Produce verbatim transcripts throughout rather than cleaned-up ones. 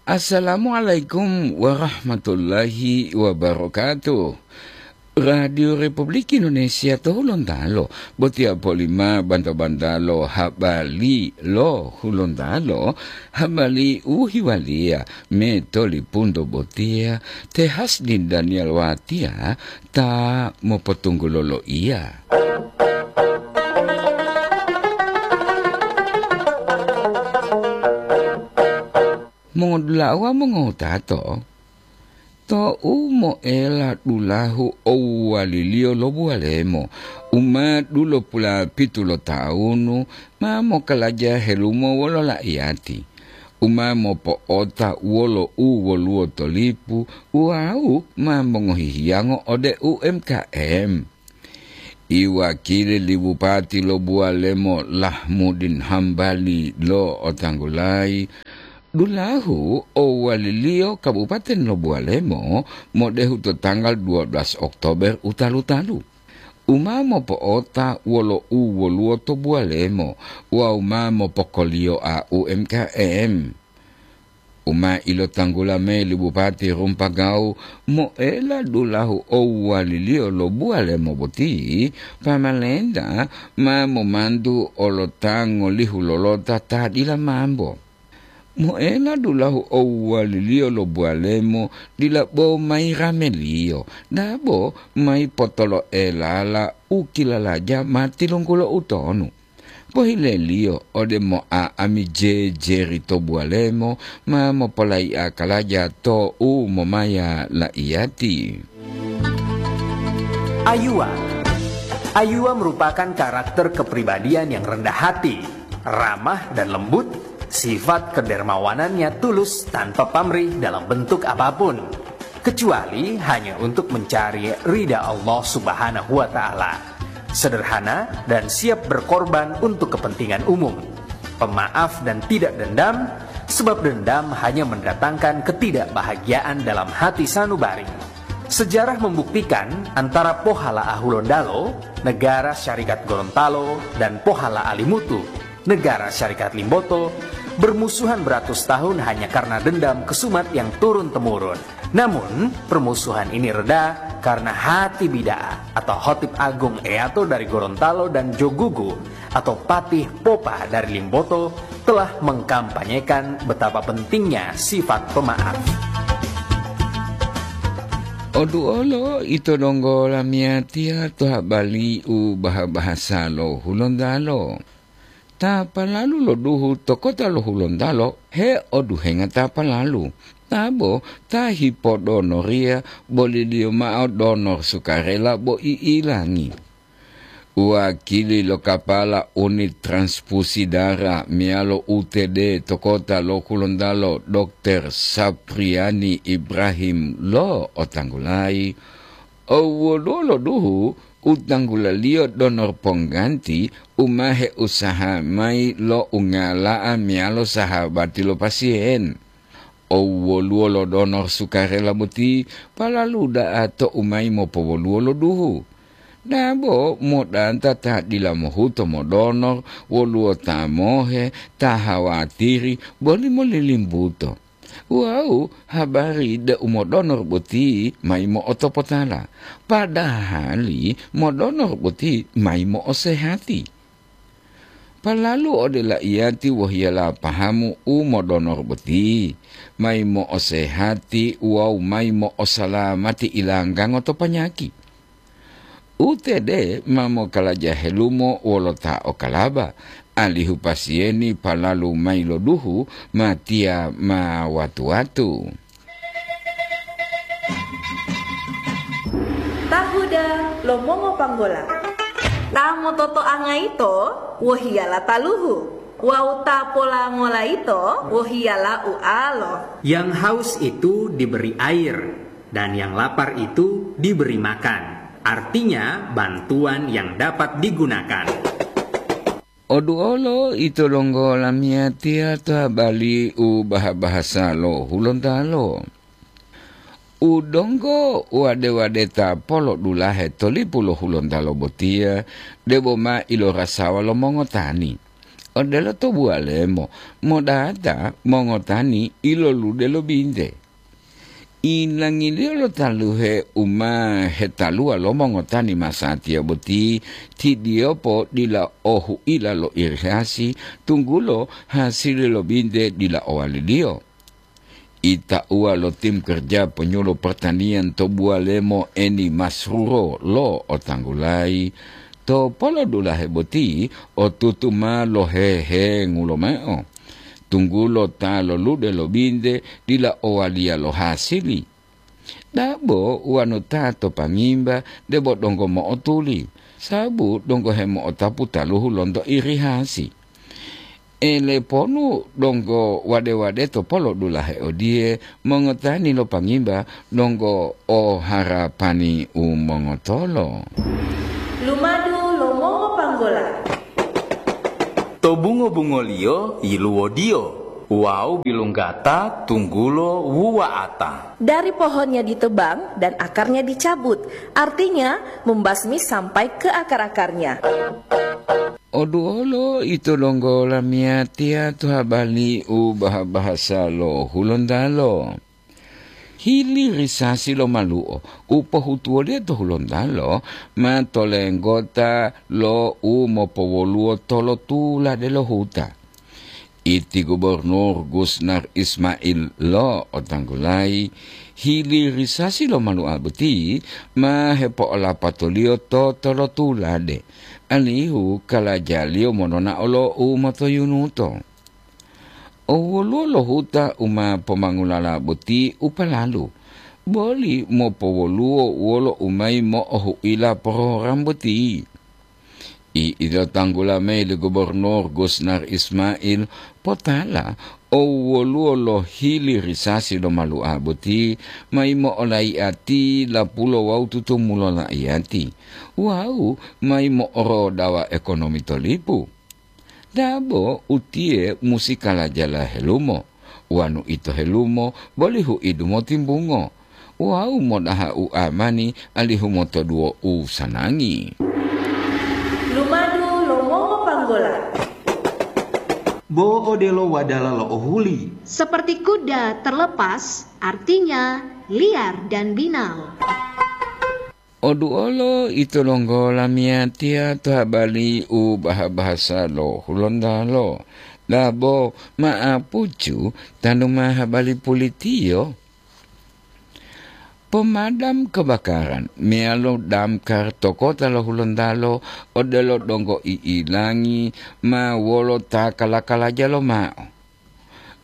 Assalamualaikum warahmatullahi wabarakatuh. Radio Republik Indonesia to Hulontalo, botiya polima banta-bantalo habari lo Hulontalo, habari u hiwaliya me tolipunto botiya, te Hasdin Daniel Watiya ta mopotunggulo loiya. Mongodula'a wawu mongowutato, tou moela dulahu owuwaliliyo lo buwalemo, u ma dulopulapitu lo tawunu, ma mokalaja helumo wolo la'iyati, u ma mopo'ota wolo u woluwo to lipu wawu ma mongohi hiyango ode U M K M. Iwakili li bupati lo buwalemo Lahmudin Hambali lo'otanggulayi, dulahu owaliliyo kabupaten lo buwalemo modehu to tanggal dua belas Oktober u talu-talu, u ma mopo'ota wolo u woluwo to buwalemo wawu ma mopokoliyoa U M K M. U ma ilotanggula mayi li Bupati Rumpagawu, moela dulahu owuwaliliyo lo buwalemo boti, pamalenta ma momantu olo ta ngolihu lolota ta dila mambo. Moela dulahu owuwaliliyo lo buwalemo dila bo mayi rameliyo, dabo mayi potoloelala u kilalaja ma tilunggulo utonu. Pohileliyo ode moa ami jejeri to buwalemo ma mopolayi'a kalaja to u momaya la'iyati. Ayuwa. Ayuwa merupakan karakter kepribadian yang rendah hati, ramah dan lembut, sifat kedermawanannya tulus tanpa pamrih dalam bentuk apapun, kecuali hanya untuk mencari ridha Allah Subhanahu wa Ta'ala. Sederhana dan siap berkorban untuk kepentingan umum. Pemaaf dan tidak dendam, sebab dendam hanya mendatangkan ketidakbahagiaan dalam hati sanubari. Sejarah membuktikan antara Pohala Ahulondalo, Negara Syarikat Gorontalo, dan Pohala Alimutu, Negara Syarikat Limboto, bermusuhan beratus tahun hanya karena dendam kesumat yang turun-temurun. Namun, permusuhan ini reda karena Hati Bida'a atau Hotib Agung Eyato dari Gorontalo dan Jogugu atau Patih Popa dari Limboto telah mengkampanyekan betapa pentingnya sifat pemaaf. Oduolo ito donggo lamiyatiya to habari u baha-bahasa lo Hulontalo. Ta palalu lo duhu to kota lo Hulontalo heoduhenga ta palalu, tabo ta hipodonoriya boliliyo mao donor sukarela bo i'ilangi. Wakili lo kapala unit transfusi dara meyalo U T D to kota lo Hulontalo, Dokter Sapriani Ibrahim lo'otanggulayi, owoluwo lo duhu u tanggulaliyo donor pongganti u ma heusaha mayi lo ungala'a meyalo sahabati lo pasiyen. Owoluwo lo donor sukarela boti palalu da'a to u mayi mopowoluwo lo duhu. Dabo modanta ta dila mohuto modonor, woluwo ta mohe, ta hawatiri, boli molilimbuto. Wawu habari deu modonor boti mayi mo'otopotala, padahali modonor boti mayi mo'osehati. Palalu ode laiyati wohiyala pahamu u modonor boti, mayi mo'osehati wawu mayi mo'osalamati ilanggango to panyaki. U T D ma mokalaja helumo wolo ta okalaba, alihu pasiyeni palalu mayi lo duhu matiya ma watu-watu. Tahuda lo mongopanggola. Ta mototoanga yito wohiyala taluhu, wawu ta polangola yito wohiyala ualo. Yang haus itu diberi air, dan yang lapar itu diberi makan. Artinya, bantuan yang dapat digunakan. Oduolo ito donggo lamiyatiya to habari u baha-bahasa lo Hulontalo. U donggo wade-wadeta polodulahe to lipu lo Hulontalo botiya, debo ma ilorasawa lo mongotani. odelo to buwalemo, modata mongotani ilolude lo binte. Ilangiliyo lo taluhe u ma hetaluwa lo mongotani masatiya boti, tidiyopo dila o huila lo irigasi, tunggulo hasili lo binte dila owaliliyo. Itauwa lo tim kerja penyuluh pertanian to buwalemo Eni Masruro lo otanggulayi, to polodulahe boti otutu ma lohehengu lomao, tunggulo ta lolude lo binte dila owaliya lo hasili. Dabo wanu ta to pangimba debo donggo mo'otuli, sabu donggo hemo'otapu taluhu lonto irihasi. Eleponu donggo wade-wade to polodulahe odiye, mongotani lo pangimba donggo o harapani u mongotolo. Lumadu lo mongopanggola. To bungo-bungoliyo yiluwodiyo wawu bilunggata tunggulo wuwa'ata. Dari pohonnya ditebang dan akarnya dicabut, artinya membasmi sampai ke akar-akarnya. Oduwolo ito donggo lamiyatiya to habali u baha-bahasa lo Hulontalo. Hilirisasi lo malu'o u pohutuwoliyo to Hulontalo ma tolenggota lo u mopowoluwo tolotulade lo huta. Iti Gubernur Gusnar Ismail lo otanggulayi, hilirisasi lo malu'a boti ma hepo'olapatoliyo to tolotulade, alihu kalajaliyo monona'o lo u motoyunuto. O woluwo lo huta u ma pomangulala boti u palalu, boli mopowoluwo wolo u mayi mo'ohu'ila porogram boti. I'ilotanggula mayi li Gubernur Gusnar Ismail potala o woluwo lo hilirisasi lo malu'a boti mayi mo'olai'ati lapulo wawu tutumulo la'iyati wawu mayi mo'orodawa ekonomi to lipu. Dabo utiye musi kalajala helumo, wanu ito helumo boli hu'idu motimbungo, wawu modaha u amani alihu motoduwo u sanangi. Lumadu lo mongopanggola. Bo odelo wadala lo ohuli. Seperti kuda terlepas, artinya liar dan binal. Oduolo ito donggo lamiyatiya to habali u baha-bahasa lo Hulontalo, dabo ma'apucu tanu ma habali pulitiyo. Pomadam kebakaran meyalo damkar to kota lo Hulontalo odelo donggo i'ilangi ma wolo ta kala-kalaja lomao.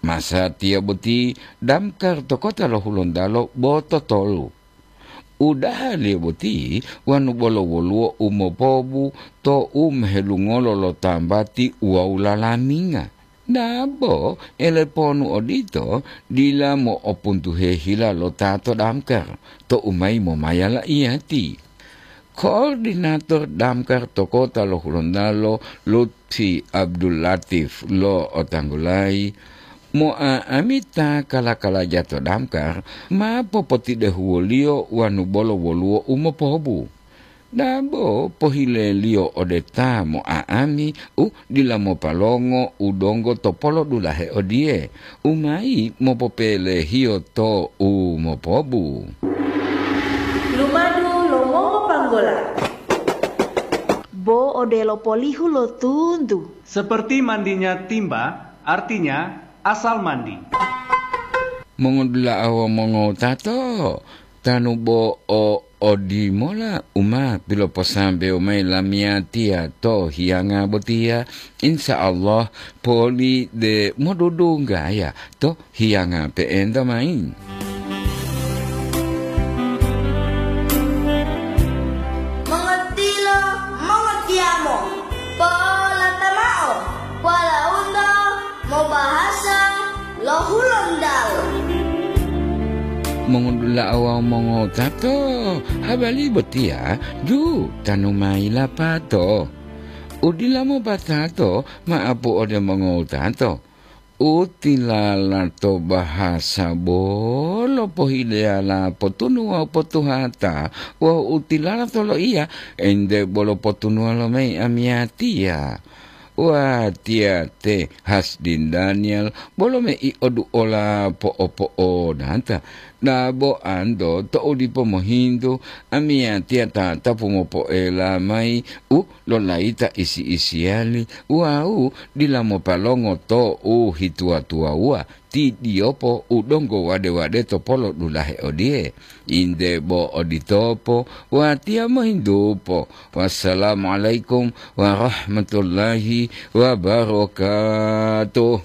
Masatiya boti damkar to kota lo Hulontalo bo totolu. Udahaliyo boti wanu bolo woluwo u mopobu to u mohelungolo lo tambati wawu lalaminga. Dabo eleponu odito dila mo'opuntuhe hila lo ta to damkar to u mayi momaya la'iyati. Koordinator damkar to kota lo Hulontalo, Lutfi Abdul Latif lo otanggulayi, mo'a'amita kala-kalaja to damkar ma popotidehuwoliyo wanu bolo woluwo u mopobu. Dabo pohileliyo ode ta mo'a'ami u dila mopalongo u donggo to polodulahe odiye, u mayi mopopelehiyo to u mopobu. Lumadu lo mongopanggola. Bo odelo polihu lo tuntu. Seperti mandinya timba, artinya asal mandi. Mongodula'a wawu mongowutato, tanu bo o odimola u ma piloposambewo mayi lamiyatiya to hiyanga botiya, insya Allah poli de modudunggaya to hiyanga pe'enta mayi. Mongotilo, mongotiyamo, polata mao, polaunto mobahasa lo Hulontalo. Mongodula'a wawu mongowutato, habari botiya ju tanu mayi lapato. Udila mopatato ma'apu ode mongowutato. U tilala to bahasa bolo pohileyala potunu wawu potuhata, wawu u tilala to loiya ente bolo potunuwa lomayi amiyatiya. Watiya te Hasdin Daniel, bolo mei oduola po'o-po'onata. Dabo anto to'u dipo mohintu, amiyatiya tatapu mopoela mayi u lolayita isi-isiyali wawu dila mopalongo to'u hituwa-tuwawuwa, tidiyopo u donggo wade-wade to polo dulahe odiye. Inde bo oditopo, watiya mohintupo. Wassalamualaikum warahmatullahi wabarakatuh.